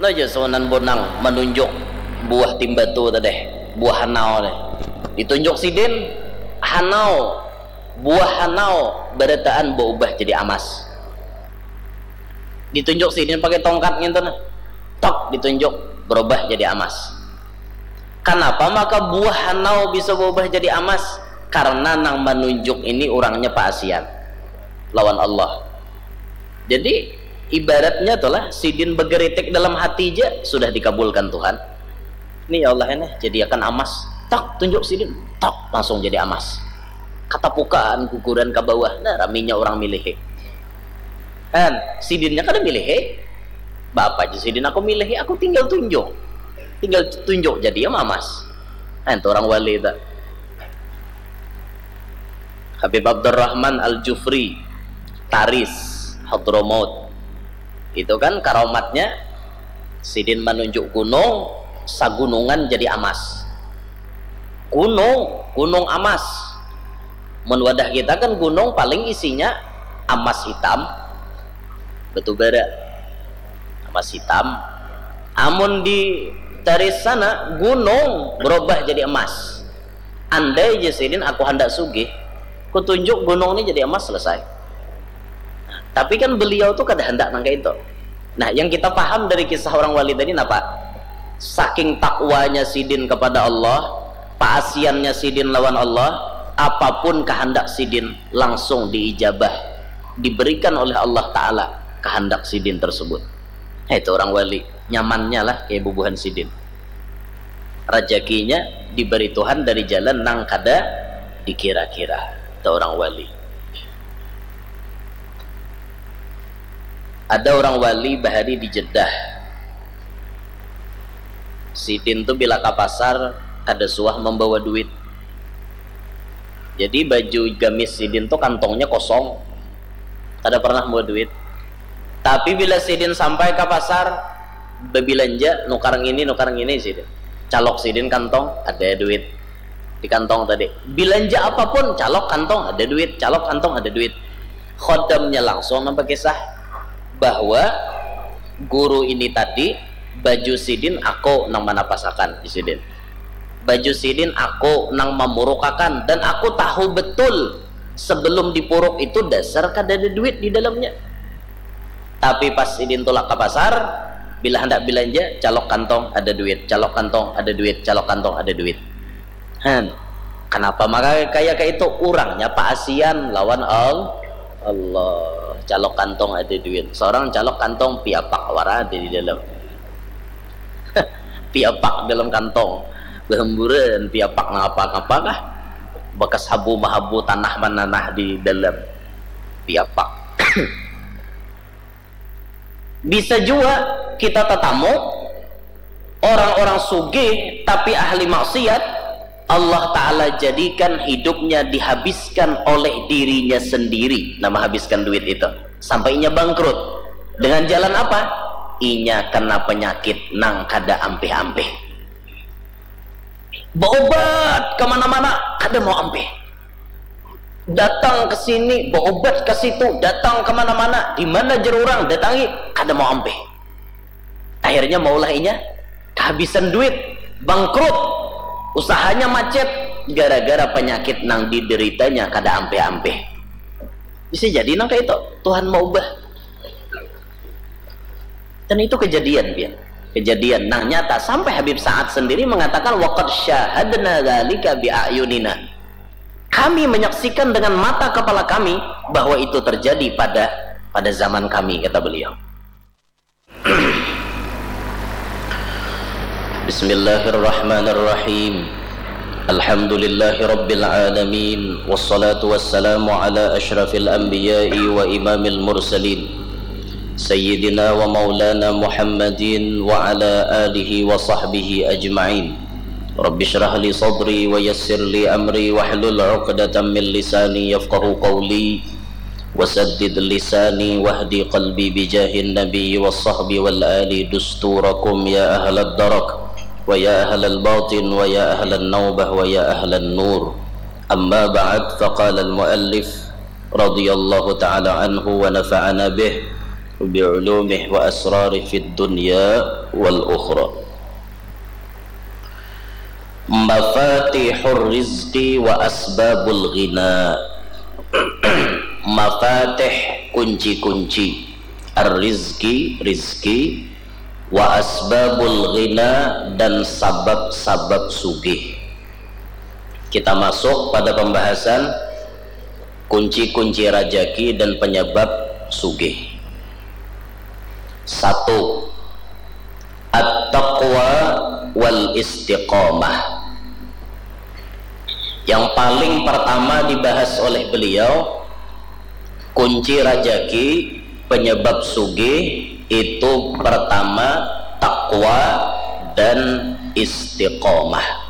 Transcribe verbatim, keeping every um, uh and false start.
Aja Sunan Bonang manunjuk buah timbatu tadi, buah hanau tadi. Ditunjuk sidin, hanau, buah hanau barataan baubah jadi amas. Ditunjuk sidin pakai tongkat ngintu nah. Tok, ditunjuk, berubah jadi amas. Kanapa maka buah hanau bisa berubah jadi amas? Karena nang manunjuk ini urangnya paasian lawan Allah. Jadi ibaratnya tuh lah, sidin begeritik dalam hati aja sudah dikabulkan Tuhan. Ini ya Allah ini jadiakan amas. Tak tunjuk sidin, tak langsung jadi amas. Katapukaan guguran ke bawah, nah raminya orang milihi. Kan sidinnya kada milihi. Bapak aja sidin aku milihi, aku tinggal tunjuk. Tinggal tunjuk jadi ya mamas. Nah, itu orang wali itu. Habib Abdurrahman Al-Jufri, Taris, Hadramaut. Itu kan karamatnya sidin manunjuk gunung, sagunungan jadi amas. Gunung, gunung amas. Mun wadah kita kan gunung paling isinya amas hitam, batu bara, amas hitam. Amun di Taris sana gunung berubah jadi emas. Andai ja sidin aku handak sugih, kutunjuk gunung ni jadi emas, selesai. Tapi kan beliau tu kada handak nang kaya itu. Nah, yang kita paham dari kisah orang wali tadi napa? Saking takwanya sidin kepada Allah, paasiannya sidin lawan Allah, apapun kehendak sidin langsung diijabah, diberikan oleh Allah Ta'ala kehendak sidin tersebut. Nah, itu orang wali, nyamannya lah kayak bubuhan sidin. Rajakinya diberi Tuhan dari jalan nang kada dikira-kira. Itu orang wali. Ada orang wali bahari di Jeddah. Sidin tu bila ka pasar kada suah membawa duit. Jadi baju gamis sidin tu kantongnya kosong. Kada pernah membawa duit. Tapi bila sidin sampai ka pasar, bebilanja, nukar ngini, nukar ngini sidin. Calok sidin kantong, ada duit. Di kantong tadi. Bilanja apapun, calok kantong, ada duit. Calok kantong, ada duit. Khodamnya langsung nang bakisah bahwa guru ini tadi, baju sidin aku nang manapasakan di sidin. Baju sidin aku nang mamurukakan dan aku tahu betul sebelum dipuruk itu dasar kada ada duit di dalamnya. Tapi pas sidin tulak ka pasar, bila handak bilanja, calok kantong ada duit, calok kantong ada duit, calok kantong ada duit. Han, kanapa maka kaya kaitu? Urangnya paasian lawan Al-, Allah. Calok kantong ada duit. Seorang calok kantong piapak wara ada di dalam. Piapak dalam kantong. Bahamburan piapak nangapa-ngapa kah? Bakas habu mahabu, tanah mananah di dalam piapak. Bisa jua kita tatamu orang-orang sugih tapi ahli maksiat, Allah Ta'ala jadikan hidupnya dihabiskan oleh dirinya sendiri, nah, menghabiskan duit itu sampai inya bangkrut. Dengan jalan apa? Inya kena penyakit nang kada ampih-ampih. Beobat kemana-mana, kada mau ampih. Datang ke sini, beobat ke situ, datang kemana-mana, di mana jer urang datangi, kada mau ampih. Akhirnya maulah inya kehabisan duit, bangkrut, usahanya macet gara-gara penyakit nang dideritanya kada ampih-ampih. Bisa jadi nang kayak itu, Tuhan mau ubah. Dan itu kejadian, pian. Kejadian nang nyata sampai Habib Sa'ad sendiri mengatakan, "Waqad syahadna dzalika bi a'yunina." Kami menyaksikan dengan mata kepala kami bahwa itu terjadi pada pada zaman kami, kata beliau. Bismillahirrahmanirrahim. Alhamdulillahirabbil alamin, wassalatu wassalamu ala asyrafil anbiya'i wa imamil mursalin, sayyidina wa maulana Muhammadin wa ala alihi wa sahbihi ajma'in. Rabbi shrah li sadri wa yassir li amri wahlul 'uqdatam min lisani yafqahu qawli. Wasaddid lisani wahdi qalbi bijahin nabi wassahbi wal ali dusturakum ya ahlad darak wa ya ahlal batin wa ya ahlan naubah wa ya ahlan nur. Amma ba'd, faqala al muallif radhiyallahu ta'ala anhu wa nafa'ana bih. بعلومه وأسراره في الدنيا والأخرى. مفاتيح الرزق وأسباب الغنى. Mafatih, kunci-kunci, ar-rizki, rizki, wa asbabul ghina, dan sabab-sabab sugih. Kita masuk pada pembahasan kunci-kunci rajaki dan penyebab sugih. Satu, at-taqwa wal istiqamah. Yang paling pertama dibahas oleh beliau, kunci rajaki, penyebab sugih itu pertama takwa dan istiqomah.